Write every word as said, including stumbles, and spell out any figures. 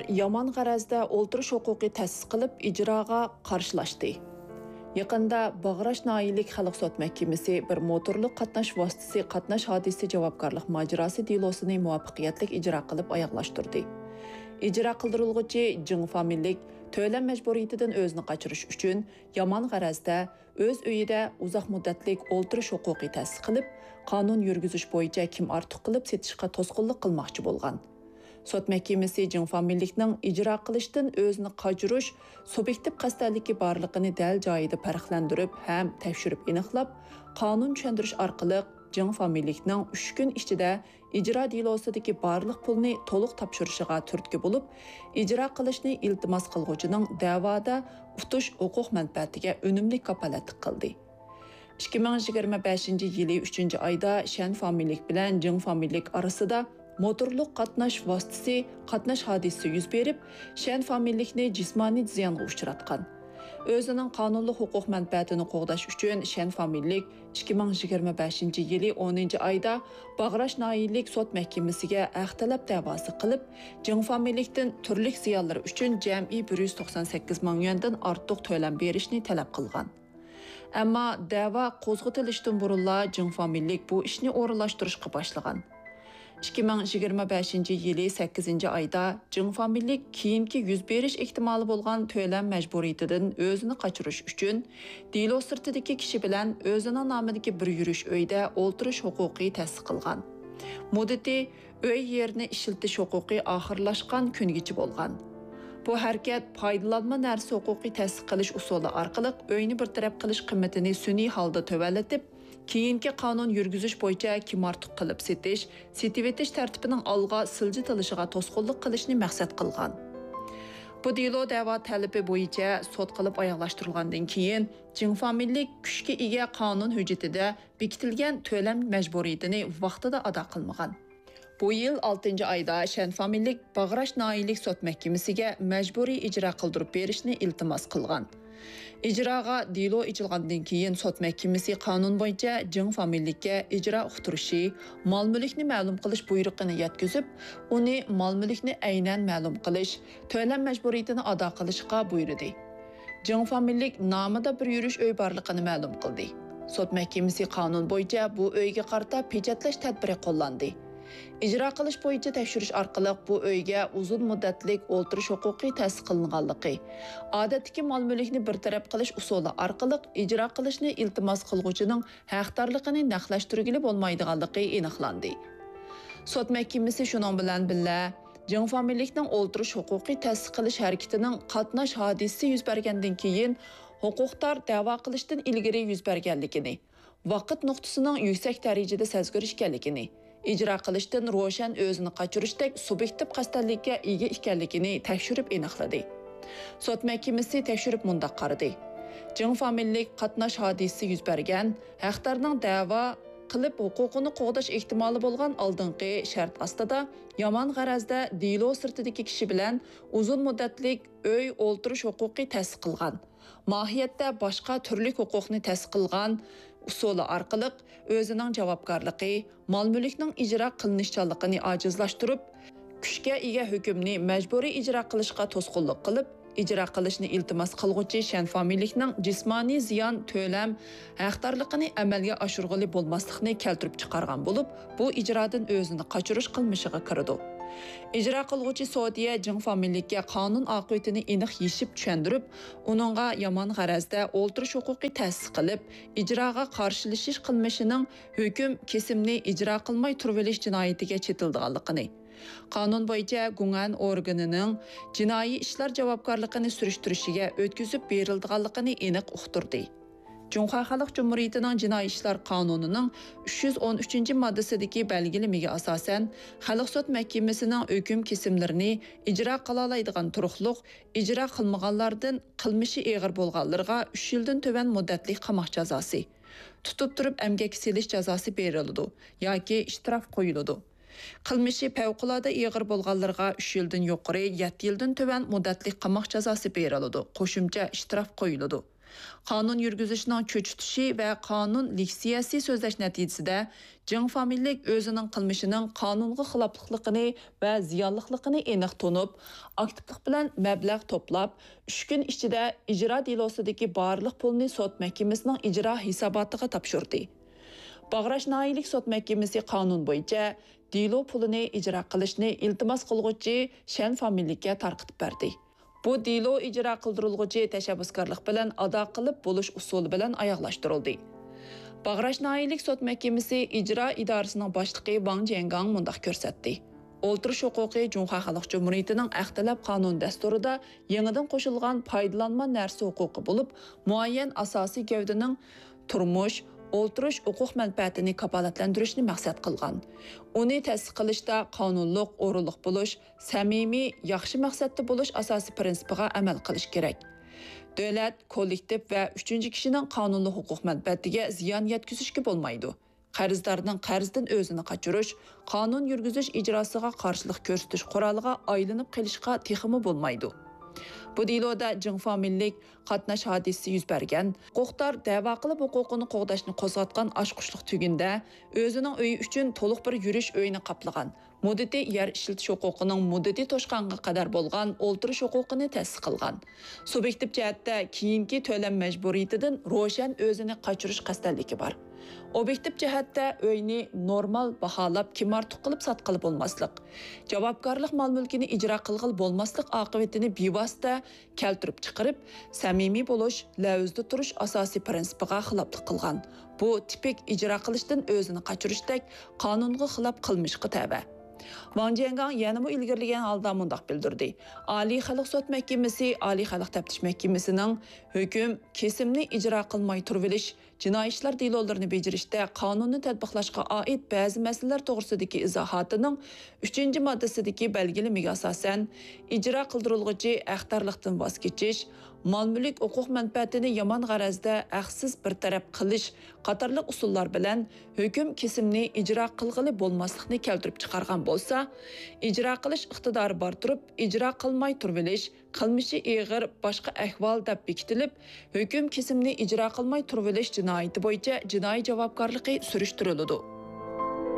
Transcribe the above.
يامان غەرەزدە ئولتۇرۇش ھوقۇقى تەسىس قىلىپ، ئىجراغا قارشىلاشتى. يېقىندا باغراش ناھىيەلىك خەلق سوت مەھكىمىسى بىر موتورلۇق قاتناش ۋاسىتىسى قاتناش ھادىسىسى جاۋابكارلىق ماجىراسى دېلوسىنى مۇۋەپپەقىيەتلىك ئىجرا قىلىپ ئاياغلاشتۇردى. ئىجرا قىلدۇرۇلغۇچى جېڭ فامىلىلىك تۆلەم مەجبۇرىيىتىدىن ئۆزىنى قاچۇرۇش ئۈچۈن يامان غەرەزدە ئۆز ئۆيىدە ئۇزاق مۇددەتلىك ئولتۇرۇش ھوقۇقى تەسىس قىلىپ، قانۇن يۈرگۈزۈش بويىچە كىم ئارتۇق قىلىپ سېتىشقا توسقۇنلۇق قىلماقچى بولغان. سوت مەھكىمىسى جېڭ فامىلىلىكنىڭ ئىجرا قىلىشتىن ئۆزىنى قاچۇرۇش سۇبيېكتىپ قەستەنلىكى بارلىقىنى دەل جايىدا پەرقلەندۈرۈپ ھەم تەكشۈرۈپ ئېنىقلاپ، قانۇن چۈشەندۈرۈش ئارقىلىق جېڭ فامىلىلىكنىڭ ئۈچ كۈن ئىچىدە ئىجرا دېلوسىدىكى بارلىق پۇلنى تولۇق تاپشۇرۇشىغا تۈرتكە بولۇپ، ئىجرا قىلىشنى ئىلتىماس قىلغۇچىنىڭ دەۋادا ئۇتۇش ھوقۇق مەنپەئەتىگە ئۈنۈملۈك كاپالەتلىك قىلدى. ئىككى مىڭ يىگىرمە بەشىنچى يىلى ئۈچىنچى ئايدا شەن فامىلىلىك بىلەن جېڭ فامىلىلىك ئارىسىدا موتورلۇق قاتناش ۋاسىتىسى قاتناش ھادىسىسى يۈز بېرىپ، شەن فامىلىلىكنى جىسمانىي زىيانغا ئۇچراتقان. ئۆزىنىڭ قانۇنلۇق ھوقۇق مەنپەئەتىنى قوغداش ئۈچۈن شەن فامىلىلىك ئىككى مىڭ يىگىرمە بەشىنچى يىلى ئونىنچى ئايدا باغراش ناھىيەلىك سوت مەھكىمىسىگە ھەق تەلەپ دەۋاسى قىلىپ، جېڭ فامىلىلىكتىن تۈرلۈك زىيانلىرى ئۈچۈن جەمئىي بىر يۈز توقسان سەككىز مىڭ يۈەندىن ئارتۇق تۆلەم بېرىشنى تەلەپ قىلغان. ئەمما دەۋا قوزغىتىلىشتىن بۇرۇنلا جېڭ فامىلىلىك بۇ ئىشنى ئورۇنلاشتۇرۇشقا باشلىغان. ئىككى مىڭ يىگىرمە بەشىنچى يىلى سەككىزىنچى ئايدا جېڭ فامىلىلىك كېيىنكى يۈز بېرىش ئېھتىمالى بولغان تۆلەم مەجبۇرىيىتىدىن ئۆزىنى قاچۇرۇش ئۈچۈن دېلو سىرتىدىكى كىشى بىلەن ئۆزىنىڭ نامىدىكى بىر يۈرۈش ئۆيدە ئولتۇرۇش ھوقۇقى تەسىس قىلغان. مۇددىتى ئۆي يېرىنى ئىشلىتىش ھوقۇقى ئاخىرلاشقان كۈنگىچە بولغان. بۇ ھەرىكەت پايدىلانما نەرسە ھوقۇقى تەسىس قىلىش ئۇسۇلى ئارقىلىق ئۆينى بىر تەرەپ قىلىش قىممىتىنى سۈنئىي ھالدا تۆۋەنلىتىپ، كېيىنكى قانۇن يۈرگۈزۈش بويىچە كىم ئارتۇق قىلىپ سېتىش، سېتىۋېتىش تەرتىپىنىڭ ئالغا سىلجىتىلىشىغا توسقۇنلۇق قىلىشنى مەقسەت قىلغان. بۇ دېلو دەۋا تەلىپى بويىچە سوت قىلىپ ئاياغلاشتۇرۇلغاندىن كېيىن، جېڭ فامىلىلىك كۈچكە ئىگە قانۇن ھۆججىتىدە بېكىتىلگەن تۆلەم مەجبۇرىيىتىنى ۋاقتىدا ئادا قىلمىغان. بۇ يىل ئالتىنچى ئايدا شەن فامىلىلىك باغراش ناھىيەلىك سوت مەھكىمىسىگە مەجبۇرىي ئىجرا قىلدۇرۇپ بېرىشنى ئىلتىماس قىلغان. ئىجراغا دېلو ئېچىلغاندىن كېيىن، سوت مەھكىمىسى قانۇن بويىچە جېڭ فامىلىلىككە ئىجرا ئۇقتۇرۇشى، مال-مۈلۈكنى مەلۇم قىلىش بۇيرۇقىنى يەتكۈزۈپ، ئۇنى مال-مۈلۈكنى ئەينەن مەلۇم قىلىش، تۆلەم مەجبۇرىيىتىنى ئادا قىلىشقا بۇيرۇدى. جېڭ فامىلىلىك نامىدا بىر يۈرۈش ئۆي بارلىقىنى مەلۇم قىلدى. سوت مەھكىمىسى قانۇن بويىچە بۇ ئۆيگە قارىتا پېچەتلەش تەدبىرى قوللاندى. ئىجرا قىلىش بويىچە تەكشۈرۈش ئارقىلىق بۇ ئۆيگە ئۇزۇن مۇددەتلىك ئولتۇرۇش ھوقۇقى تەسىس قىلىنغانلىقى، ئادەتتىكى مال-مۈلۈكنى بىر تەرەپ قىلىش ئۇسۇلى ئارقىلىق ئىجرا قىلىشنى ئىلتىماس قىلغۇچىنىڭ ھەقدارلىقىنى نەقلەشتۈرگىلى بولمايدىغانلىقى ئېنىقلاندى. سوت مەھكىمىسى شۇنىڭ بىلەن بىللە، جېڭ فامىلىلىكنىڭ ئولتۇرۇش ھوقۇقى تەسىس قىلىش ھەرىكىتىنىڭ قاتناش ھادىسىسى يۈز بەرگەندىن كېيىن، ھوقۇقدار دەۋا قىلىشتىن ئىلگىرى يۈز بەرگەنلىكىنى، ۋاقىت نۇقتىسىنىڭ يۈكسەك دەرىجىدە سەزگۈر ئىكەنلىكىنى، ئىجرا قىلىشتىن روشەن ئۆزىنى قاچۇرۇشتەك سۇبيېكتىپ قەستەنلىككە ئىگە ئىكەنلىكىنى تەكشۈرۈپ ئېنىقلىدى. سوت مەھكىمىسى تەكشۈرۈپ مۇنداق قارىدى: جېڭ فامىلىلىك قاتناش ھادىسىسى يۈز بەرگەن، ھەقدارنىڭ دەۋا قىلىپ ھوقۇقىنى قوغداش ئېھتىمالى بولغان ئالدىنقى شەرت ئاستىدا يامان غەرەزدە دېلو سىرتىدىكى كىشى بىلەن ئۇزۇن مۇددەتلىك ئۆي ئولتۇرۇش ھوقۇقى تەسىس قىلغان، ماھىيەتتە باشقا تۈرلۈك ھوقۇقنى تەسىس قىلغان ئۇسۇلى ئارقىلىق ئۆزىنىڭ جاۋابكارلىقى، مال-مۈلۈكنىڭ ئىجرا قىلىنىشچانلىقىنى ئاجىزلاشتۇرۇپ، كۈچكە ئىگە ھۆكۈمنى مەجبۇرىي ئىجرا قىلىشقا توسقۇنلۇق قىلىپ، ئىجرا قىلىشنى ئىلتىماس قىلغۇچى شەن فامىلىلىكنىڭ جىسمانىي زىيان تۆلەم ھەقدارلىقىنى ئەمەلگە ئاشۇرغىلى بولماسلىقنى كەلتۈرۈپ چىقارغان بولۇپ، بۇ ئىجرادىن ئۆزىنى قاچۇرۇش قىلمىشىغا كىرىدۇ. ئىجرا قىلغۇچى سودىيە جېڭ فامىلىلىككە قانۇن ئاقىۋىتىنى ئېنىق يېشىپ چۈشەندۈرۈپ، ئۇنىڭغا يامان غەرەزدە ئولتۇرۇش ھوقۇقى تەسىس قىلىپ، ئىجراغا قارشىلىشىش قىلمىشىنىڭ ھۆكۈم كېسىمنى ئىجرا قىلماي تۇرۇۋېلىش جىنايىتىگە چېتىلىدىغانلىقىنى، قانۇن بويىچە گۇڭئەن ئورگىنىنىڭ جىنايى ئىشلار جاۋابكارلىقىنى سۈرۈشتۈرۈشىگە ئۆتكۈزۈپ بېرىلىدىغانلىقىنى ئېنىق ئۇقتۇردى. جۇڭخۇا خەلق جۇمھۇرىيىتىنىڭ جىنايى ئىشلار قانۇنىنىڭ ئۈچ يۈز ئون ئۈچىنچى ماددىسىدىكى بەلگىلىمىگە ئاساسەن، خەلق سوت مەھكىمىسىنىڭ ھۆكۈم كېسىملىرىنى ئىجرا قىلالايدىغان تۇرۇقلۇق ئىجرا قىلمىغانلاردىن قىلمىشى ئېغىر بولغانلىرىغا ئۈچ يىلدىن تۆۋەن مۇددەتلىك قاماق جازاسى، تۇتۇپ تۇرۇپ ئەمگەككە سېلىش جازاسى بېرىلىدۇ ياكى ئىشتراف قويۇلىدۇ. قىلمىشى پەۋقۇلئاددە ئېغىر بولغانلىرىغا ئۈچ يىلدىن يۇقىرى، يەتتە يىلدىن تۆۋەن مۇددەتلىك قاماق جازاسى بېرىلىدۇ، قوشۇمچە ئىشتراف قويۇلىدۇ. قانۇن يۈرگۈزۈشنىڭ چۆچۈتۈشى ۋە قانۇن لېكسىيەسى سۆزلەش نەتىجىسىدە، جېڭ فامىلىلىك ئۆزىنىڭ قىلمىشىنىڭ قانۇنغا خىلاپلىقلىقىنى ۋە زىيانلىقلىقىنى ئېنىق تونۇپ، ئاكتىپلىق بىلەن مەبلەغ توپلاپ، ئۈچ كۈن ئىچىدە ئىجرا دېلوسىدىكى بارلىق پۇلنى سوت مەھكىمىسىنىڭ ئىجرا ھېساباتىغا تاپشۇردى. باغراش ناھىيەلىك سوت مەھكىمىسى قانۇن بويىچە دېلو پۇلىنى ئىجرا قىلىشنى ئىلتىماس قىلغۇچى شەن فامىلىلىككە تارقىتىپ بەردى. بۇ دېلو ئىجرا قىلدۇرۇلغۇچى تەشەببۇسكارلىق بىلەن ئادا قىلىپ بولۇش ئۇسۇلى بىلەن ئاياغلاشتۇرۇلدى. باغراش ناھىيەلىك سوت مەھكىمىسى ئىجرا ئىدارىسىنىڭ باشلىقى ۋاڭ جيەنگاڭ مۇنداق كۆرسەتتى: ئولتۇرۇش ھوقۇقى جۇڭخۇا خەلق جۇمھۇرىيىتىنىڭ ھەق تەلەپ قانۇن دەستۇرىدا يېڭىدىن قوشۇلغان پايدىلانما نەرسە ھوقۇقى بولۇپ، مۇئەييەن ئاساسىي گەۋدىنىڭ تۇرمۇش، ئولتۇرۇش ھوقۇق مەنپەئەتىنى كاپالەتلەندۈرۈشنى مەقسەت قىلغان. ئۇنى تەسىس قىلىشتا قانۇنلۇق، ئورۇنلۇق بولۇش، سەمىمىي، ياخشى مەقسەتتە بولۇش ئاساسىي پىرىنسىپىغا ئەمەل قىلىش كېرەك. دۆلەت، كوللېكتىپ ۋە ئۈچىنچى كىشىنىڭ قانۇنلۇق ھوقۇق مەنپەئەتىگە زىيان يەتكۈزۈشكە بولمايدۇ. قەرزدارنىڭ قەرزدىن ئۆزىنى قاچۇرۇش قانۇن يۈرگۈزۈش ئىجراسىغا قارشىلىق كۆرسىتىش قورالىغا ئايلىنىپ قېلىشقا تېخىمۇ بولمايدۇ. بۇ دېلودا جىڭ فامىلىلىك قاتناش ھادىسىسى يۈز بەرگەن، ھوقۇقدار دەۋا قىلىپ ھوقۇقىنى قوغداشنى قوزغاتقان ئاچقۇچلۇق تۈگۈندە ئۆزىنىڭ ئۆيى ئۈچۈن تولۇق بىر يۈرۈش ئۆينى قاپلىغان، مۇددىتى يەر ئىشلىتىش ھوقۇقىنىڭ مۇددىتى توشقانغا قەدەر بولغان ئولتۇرۇش ھوقۇقىنى تەسىس قىلغان. سۇبيېكتىپ جەھەتتە كېيىنكى تۆلەم مەجبۇرىيىتىدىن روشەن ئۆزىنى قاچۇرۇش خەستەلىكى بار. ئوبيېكتىپ جەھەتتە ئۆينى نورمال باھالاپ كىم ئارتۇق قىلىپ ساتقىلى بولماسلىق، جاۋابكارلىق مال-مۈلكىنى ئىجرا قىلغىلى بولماسلىق ئاقىۋىتىنى بىۋاسىتە كەلتۈرۈپ چىقىرىپ، سەمىمىي بولۇش، لەۋزىدە تۇرۇش ئاساسىي پىرىنسىپىغا خىلاپلىق قىلغان. بۇ تىپىك ئىجرا قىلىشتىن ئۆزىنى قاچۇرۇشتەك قانۇنغا خىلاپ قىلمىشقا تەۋە. ۋاڭ جيەنگاڭ يەنىمۇ ئىلگىرىلىگەن ھالدا مۇنداق بىلدۈردى: ئالىي خەلق سوت مەھكىمىسى، ئالىي خەلق تەپتىش مەھكىمىسىنىڭ ھۆكۈم، كېسىمنى ئىجرا قىلماي تۇرۇۋېلىش جىنايى ئىشلار دېلولىرىنى بېجىرىشتە قانۇننى تەتبىقلاشقا ئائىت بەزى مەسىلىلەر توغرىسىدىكى ئىزاھاتىنىڭ ئۈچىنچى ماددىسىدىكى بەلگىلىمىگە ئاساسەن، ئىجرا قىلدۇرۇلغۇچى ھەقدارلىقتىن ۋاز كېچىش، مال-مۈلۈك ھوقۇق مەنپەئەتىنى يامان غەرەزدە ھەقسىز بىر تەرەپ قىلىش قاتارلىق ئۇسۇللار بىلەن ھۆكۈم كېسىمنى ئىجرا قىلغىلى بولماسلىقنى كەلتۈرۈپ چىقارغان بولسا، ئىجرا قىلىش ئىقتىدارى بار تۇرۇپ ئىجرا قىلماي تۇرۇۋېلىش، قىلمىشى ئېغىر باشقا ئەھۋال دەپ بېكىتىلىپ، ھۆكۈم كېسىمنى ئىجرا قىلماي تۇرۇۋېلىش جىنايىتى بويىچە جىنايى جاۋابكارلىقى سۈرۈشتۈرۈلىدۇ.